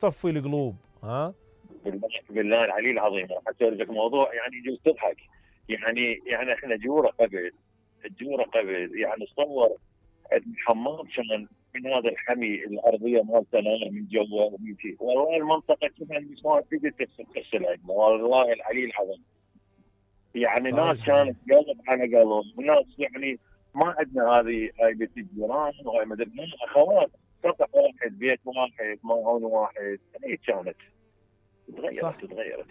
تصفي القلوب. ها بالله العلي العظيم راح اسولف لك موضوع يعني يجوز تضحك. يعني احنا جوره قبل يعني تصور حمام كان من هذا الحمي الارضيه مالتنا من جوا والله المنطقه كلها ما تقدر تغسل عندنا والله العلي العظيم. يعني ناس كانت قلب على قلب وناس يعني ما عندنا هاي بيت الجيران وهاي ما ادري اخوات سطح واحد بيت واحد معون واحد. هي كانت تغيرت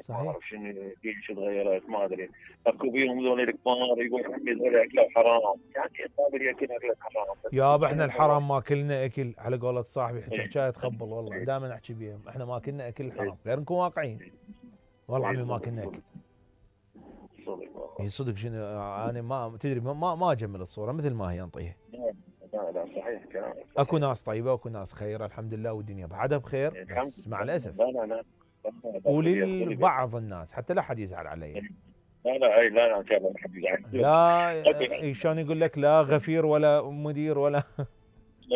ما اعرف شنو ليش تغيرت ما ادري. اكو بيهم ذول الكبار يقول هذول اكله حرام يعني قابل ياكل اكله حرام. يابا احنا الحرام ما كلنا اكل على قولة صاحبي حكايه تخبل والله دائما احكي بيهم احنا ما كلنا اكل حرام غير نكون واقعيين. والله عمي ما كلنا اكل. صدق شنو انا ما تدري ما اجمل الصوره مثل ما هي انطيها. لا صحيح كلامك. اكو ناس طيبه واكو ناس خيره الحمد لله والدنيا بعدها بخير بس مع الاسف. لا وللبعض الناس حتى لا حد يزعل علي. لا ان شاء الله ما حد يزعل. لا شلون يقول لك لا غفير ولا مدير ولا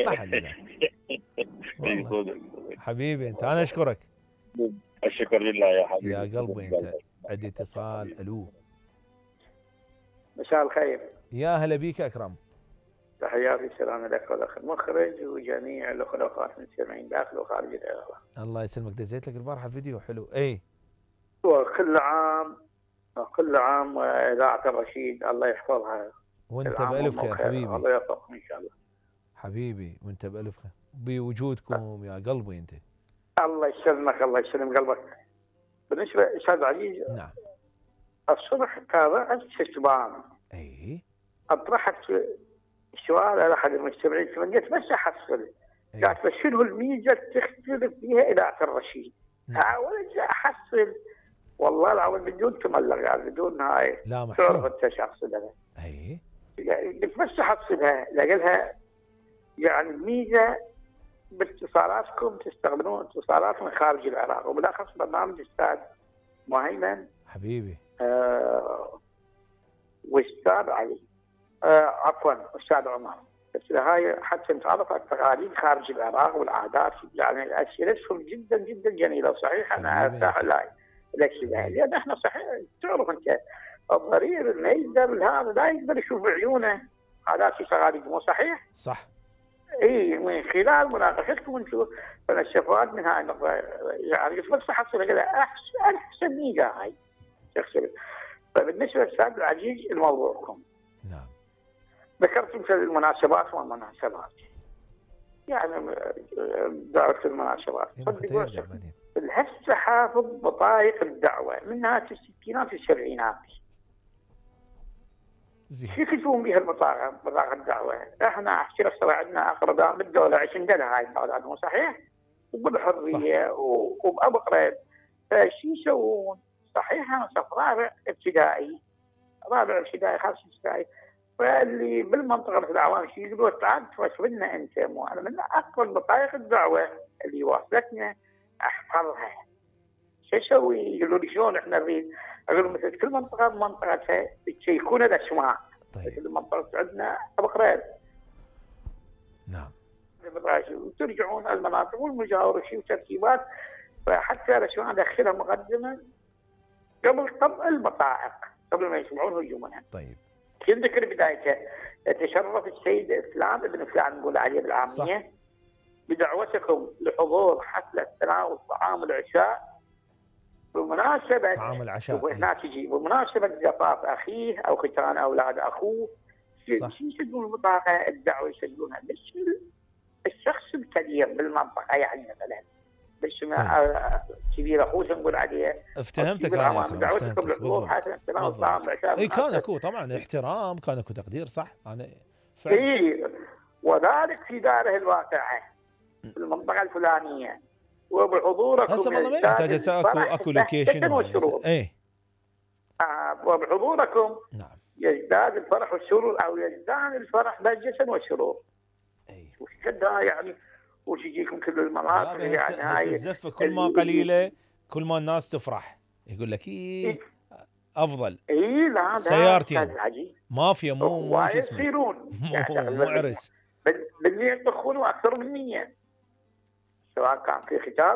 ما حد يزعل. حبيبي انت انا اشكرك. الشكر لله يا حبيبي. يا قلبي انت. عندي اتصال. الو. مساء الخير. يا هلا بيك اكرم. تحياتي السلام لك والاخ المخرج وجميع الاخوات المستمعين داخل وخارج الاذاعه. الله يسلمك. دزيت لك البارحه فيديو حلو. اي وكل عام اذاعه الرشيد الله يحفظها وانت بالف خير حبيبي. الله يوفقكم ان شاء الله حبيبي وانت بالف خير بوجودكم يا قلبي انت. الله يسلمك الله يسلم قلبك. بالنسبه استاذ عزيز. نعم. الصبح تابعت شتبان. اي. اطرحت سؤال على احد المستمعين تمنيت بس احصل. قالت بس شنو الميزه تختلف فيها اذاعه الرشيد؟ حاولت احصل والله العظيم بدون تملق قال بدون هاي. لا محسوب. تعرف انت شو اقصدها. اي. قلت بس احصلها لقلها يعني الميزه باتصالاتكم تستخدمون اتصالات من خارج العراق وبالاخص برنامج استاذ مهيمن حبيبي. واستاذ علي عفوا استاذ عمر. بس هاي حتى نتعرف على التقاليد خارج العراق والعادات يعني اسئلتهم جدا جدا جميله وصحيح انا ارتاح لها لان احنا صحيح تعرف انت الضرير اللي يقدر هذا لا يقدر يشوف بعيونه عادات وتقاليد مو صحيح؟ صح. اي من خلال مناقشتكم انتم فنستفاد من هاي النقطه يعني بس حصل كذا احسن ميزه هاي تحصل. فبالنسبه للاستاذ العزيز لموضوعكم. نعم. ذكرتم في المناسبات والمناسبات يعني دعوه المناسبات. هسه حافظ بطايق الدعوه من نهايه الستينات والسبعينات. كيف يكون بها بطاقه الدعوه؟ احنا احكي لك صار عندنا اقرباء بالدوله عندنا هاي البلد مو صحيح؟ وبالحريه وبابقرب فشو يسوون؟ صحيح انا صف رابع ابتدائي خامس ابتدائي فاللي بالمنطقه مثل العوام شو يقولوا تعال توصل لنا انت مو انا من اقرب بطايق الدعوه اللي واصلتنا احفظها. شو اسوي؟ يقولوا لي شلون احنا نريد؟ اقول مثل كل منطقه بمنطقتها يشيكون الاسماء. طيب. مثل المنطقه عندنا ابو قريب. نعم. وترجعون المناطق والمجاوره شيء وترتيبات فحتى الاسماء ادخلها مقدما قبل طبع البطائق قبل ما يسمعون هجومنا. طيب. يذكر بدايته تشرف السيد فلان ابن فلان نقول عليه بالعاميه بدعوتكم لحضور حفله تناول طعام العشاء بمناسبه طعام العشاء وهناك تجي بمناسبه زفاف اخيه او ختان اولاد اخوه. شو يسجلون البطاقه الدعوه يسجلونها بس الشخص الكبير بالمنطقه يعني مثلا بس كبير اخوه نقول عليه. افتهمتك انا دعوتكم لحضور حفله تناول طعام العشاء. اي كان اكو طبعا احترام كان اكو تقدير صح انا اي وذلك في داره الواقعه في المنطقه الفلانيه وبحضوركم هسه والله ما يحتاج اكو لوكيشن اي وبحضوركم نعم يزداد الفرح والسرور او يزداد الفرح بهجة والسرور. اي وش يعني وش يجيكم كل المناطق يعني هاي الزفه كل ما قليله كل ما الناس تفرح يقول لك افضل. اي لا سيارتين مافيا مو شو اسمه يصيرون مو عرس بالنية يطخون اكثر من نية. سواء كان في ختان